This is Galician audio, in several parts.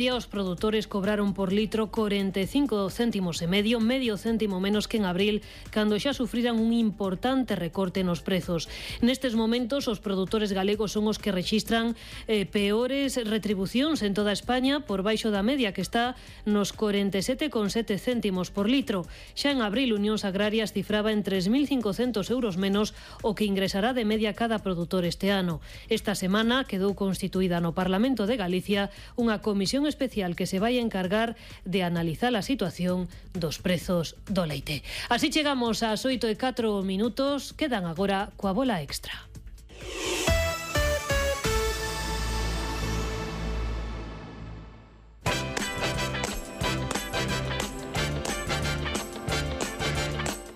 Os produtores cobraron por litro 45 céntimos e medio céntimo menos que en abril, cando xa sufriran un importante recorte nos prezos. Nestes momentos, os produtores galegos son os que rexistran peores retribucións en toda España, por baixo da media, que está nos 47,7 céntimos por litro. Xa en abril, Unións Agrarias cifraba en 3.500 euros menos o que ingresará de media cada produtor este ano. Esta semana quedou constituída no Parlamento de Galicia unha comisión especial que se vai a encargar de analizar a situación dos prezos do leite. Así chegamos ás 8:04, quedan agora coa bola extra.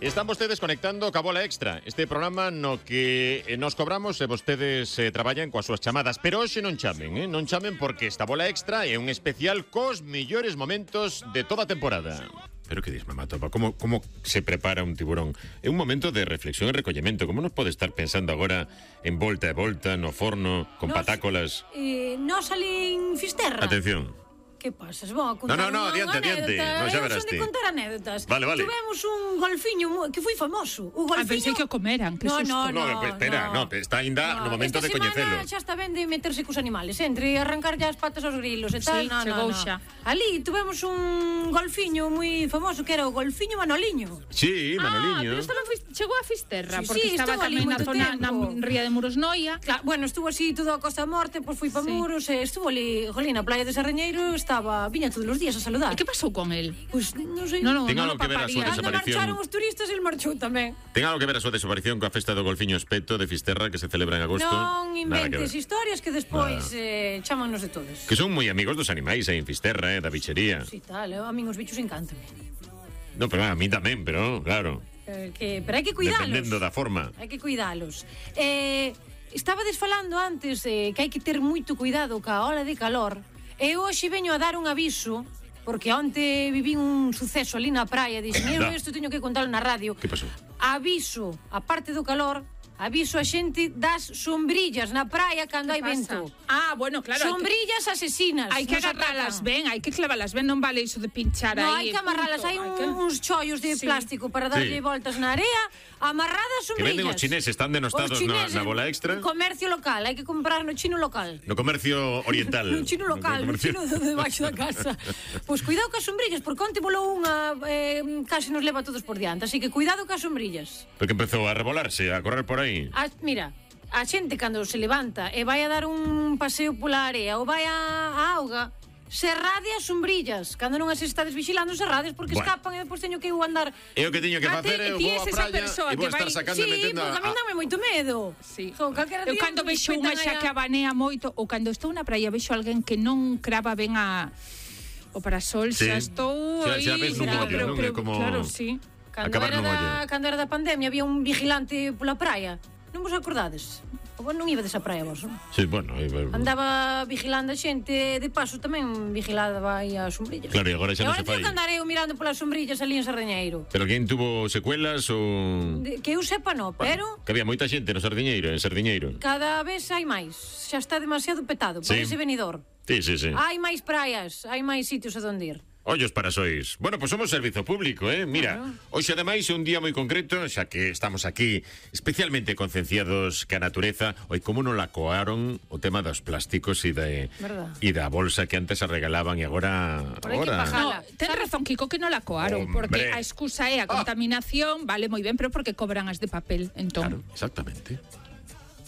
Están vostedes conectando ca bola extra, este programa no que nos cobramos e vostedes traballan coas súas chamadas, pero hoxe non chamen, non chamen porque esta bola extra é un especial cos mellores momentos de toda a temporada. Pero que dis, mamá topa, como se prepara un tiburón? É un momento de reflexión e recollemento. Como nos pode estar pensando agora en volta e volta, no forno, con patácolas? Nos ali en Fisterra. Atención. Que pasas? Vou a contar No, adiante. No, xa verás ti. Son de contar anécdotas. Vale. Tivemos un golfiño que foi famoso. O golfiño... pensei que o comeran, que susto. Espera, está ainda no momento de coñecelo. Esta semana xa está ben de meterse cos animales, entre arrancar as patas aos grilos e tal. Sí, chegou xa. Ali tivemos un golfiño moi famoso que era o golfiño Manoliño. Sí, Manoliño. Pero chegou a Fisterra, porque sí, estaba tamén na zona na ría de Muros Noia. Claro, bueno, estuvo así todo a Costa Morte, pois foi pa Muros, estuvo ali, na playa de Sarreñeiro, viña todos os días a saludar. E que pasou con el? Pois non sei. Non algo que ver a súa desaparición. Cando marcharon os turistas, el marchou tamén. Ten algo que ver a súa desaparición coa festa do golfiño Espeto de Fisterra que se celebra en agosto? Non inventes historias que despois chámanos de todos. Que son moi amigos dos animais aí en Fisterra, da bichería. Si tal, a min os bichos encantan. No, pero a mí tamén, pero claro. Pero hai que cuidalos. Dependendo da forma. Hai que cuidalos. Estabades falando antes que hai que ter moito cuidado ca ola de calor. E hoxe veño a dar un aviso, porque onte viví un suceso ali na praia. Dixen, isto teño que contarlo na radio. Que pasou? Aviso, a parte do calor, aviso a xente das sombrillas na praia cando hai vento. Bueno, claro. Sombrillas asesinas. Hai que agarralas ben, hai que clavalas ben, non vale iso de pinchar aí. Non, hai que amarralas, hai uns chollos de plástico para darlle voltas na area, amarradas sombrillas. Que venden os chineses, están denostados na bola extra. Comercio local, hai que comprar no chino local. No comercio oriental. No chino local, no chino debaixo da casa. Pois cuidado cas sombrillas, porque onte volou unha case nos leva a todos por diante, así que cuidado cas sombrillas. Porque empezou a revolarse, a correr por aí. Mira, a xente cando se levanta e vai a dar un paseo pola area ou vai á auga, cerrade as sombrillas. Cando non as estades vigilando, cerrades, porque escapan e depois teño que andar. É o que teño que facer, eu vou á praia e vou estar sacando e metendo. Sí, porque a mí dame moito medo. Eu cando vexo unha xa que abanea moito, ou cando estou na praia vexo alguén que non crava ben o parasol, xa estou aí. Xa ves nun ollo, non é como... Claro, sí. Cando era da pandemia había un vigilante pola praia. Non vos acordades? Non ibades á praia vos, non? Sí, bueno. Andaba vigilando a xente, de paso tamén vigilaba aí as sombrillas. Claro, e agora xa non se fai. Agora teño que andar eu mirando polas sombrillas ali en Sardeñeiro. Pero quen tuvo secuelas ou... Que eu sepa non, pero... Que había moita xente no Sardiñeiro, en Sardiñeiro. Cada vez hai máis. Xa está demasiado petado, parece venidor. Sí. Hai máis praias, hai máis sitios a donde ir. Ollos para sois. Bueno, pues somos servizo público, Mira, hoxe ademais é un día moi concreto, xa que estamos aquí especialmente concienciados que a natureza, oi como non la coaron o tema dos plásticos e da bolsa que antes se regalaban e agora... Ten razón, Kiko, que non la coaron, porque a excusa é a contaminación, vale moi ben, pero porque cobran as de papel, entón. Claro, exactamente.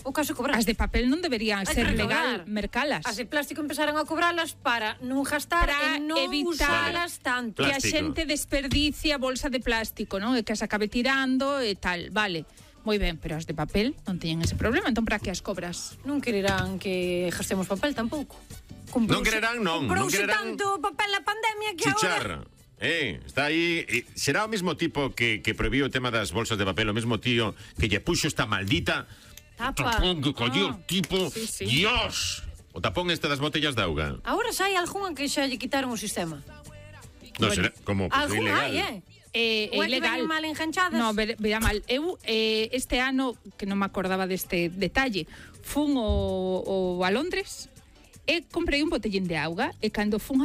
O caso cobrar. As de papel non deberían ser legal mercalas. As de plástico empezaron a cobralas para non gastar e non usalas tanto. Que a xente desperdicia a bolsa de plástico, non? E que se acabe tirando e tal, vale. Moi ben, pero as de papel non teñen ese problema, entón para que as cobras? Non quererán que gastemos papel tampouco. Non quererán, non. Comprouse tanto papel na pandemia que agora... está aí. Será o mesmo tipo que prohibiu o tema das bolsas de papel, o mesmo tío que lle puxo esta maldita tapón que colleu tipo. Dios! O tapón este das botellas de auga. Agora sai algunha que xa lle quitaron o sistema. Non será como ilegal. É ilegal. Mal enganchadas. No, verá mal. Eu este ano, que non me acordaba deste detalle, fun a Londres e comprei un botellín de auga e cando fun a